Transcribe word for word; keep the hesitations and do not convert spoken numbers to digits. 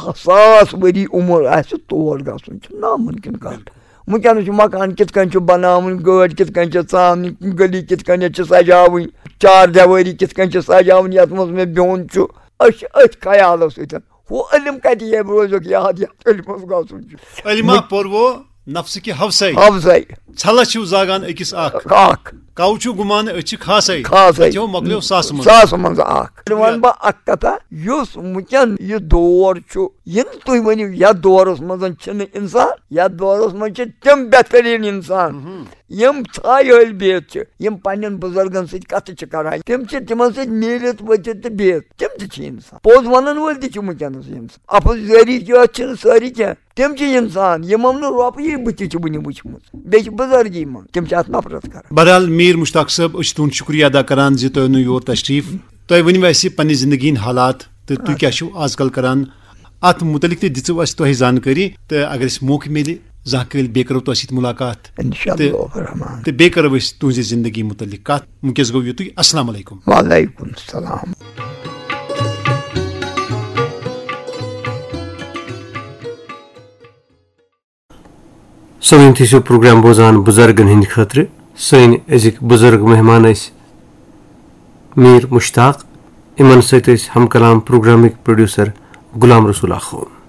ساس ؤری عمر آسہِ، تور گژھُن چھُ ناممکن کتھ۔ وٕنکیٚنس چھُ مکان کِتھ کٔنۍ چھُ بناوٕنۍ، گٲڑۍ کِتھ کٔنۍ چھِ ژامنہِ، گلی کِتھ کٔنۍ چھِ سجاوٕنۍ، چار دیوٲری کِتھ کٔنۍ چھِ سجاوٕنۍ، یتھ منٛز مےٚ بیوٚن چھُ۔ أسۍ چھِ أتھۍ خیالس سۭتۍ۔ ہُہ علم کتہِ ییٚمہِ روزُک یاد، یتھ علمس گژھُن چھُ؟ علمہ پوٚروو نفسہٕ کہِ ہوسے۔ ہوسے۔ ژھلس چھِو زاگان أکِس اکھ۔ اکھ۔ کاو چھُ گُمان أسۍ چھِ خاصے۔ خاصے۔ اتہِ ہو مۄکلیو ساسہٕ منٛز۔ ساسہٕ منٛز اکھ۔ وَنہٕ بہٕ اکھ کتھا، یُس وٕنکیٚن یہِ دور چھُ، یِم تُہۍ ؤنِو، یتھ دورس منٛز چھِنہٕ انسان، یتھ دورس منٛز چھِ تِم بہتریٖن انسان، یِم ژھایہِ ہٲلۍ بِہِتھ چھِ، یِم پننٮ۪ن بُزرگن سۭتۍ کتھٕ چھِ کران، تِم چھِ تِمن سۭتۍ میٖلِتھ ؤتھِتھ تہٕ بِہِتھ، تِم تہِ چھِ انسان۔ پوٚز ونن وٲلۍ تہِ چھِ وٕنکیٚنس انسان۔ اپوزٲری یوت چھِنہٕ سٲری کینٛہہ، تِم چھِ انسان، یِمن نہٕ رۄپیہِ بٕتھِ چھِ وٕنہِ وٕچھمٕژ، بیٚیہِ چھِ بُزرگی منٛز، تِم چھِ اتھ نفرت کران۔ بہرحال، میر مشتاق صٲب، أسۍ چھِ تُہُنٛد شُکریہ ادا کران زِ تُہۍ أنِو یور تشریف۔ تۄہہِ ؤنِو اَسہِ پننہِ زندگی ہٕنٛدۍ حالات تہٕ تُہۍ کیٛاہ چھِو آز کل کران۔ اتھ متعلق تہِ دِژو اَسہِ تۄہہِ زانکٲری، تہٕ اگر اَسہِ موقعہٕ میلہِ، زانٛہہ کٲلۍ بیٚیہِ کرو تۄہہِ سۭتۍ مُلاقات۔ انشاءاللہ تہٕ، الرحمن۔ تہٕ بیٚیہِ کرو أسۍ تُہنٛزِ زندگی متعلق کتھ۔ وٕنکیٚس گوٚو یُتُے۔ السلام علیکم۔ وعلیکم السلام۔ سٲنۍ تھٲیِو پروگرام بوزان بُزرگن ہٕنٛدِ خٲطرٕ۔ سٲنۍ أزِکۍ بُزرگ مہمان ٲسۍ میٖر مشتاق۔ یِمن سۭتۍ ٲسۍ ہم کلام پروگرامٕکۍ پروڈیوسر غلام رسول آخوند۔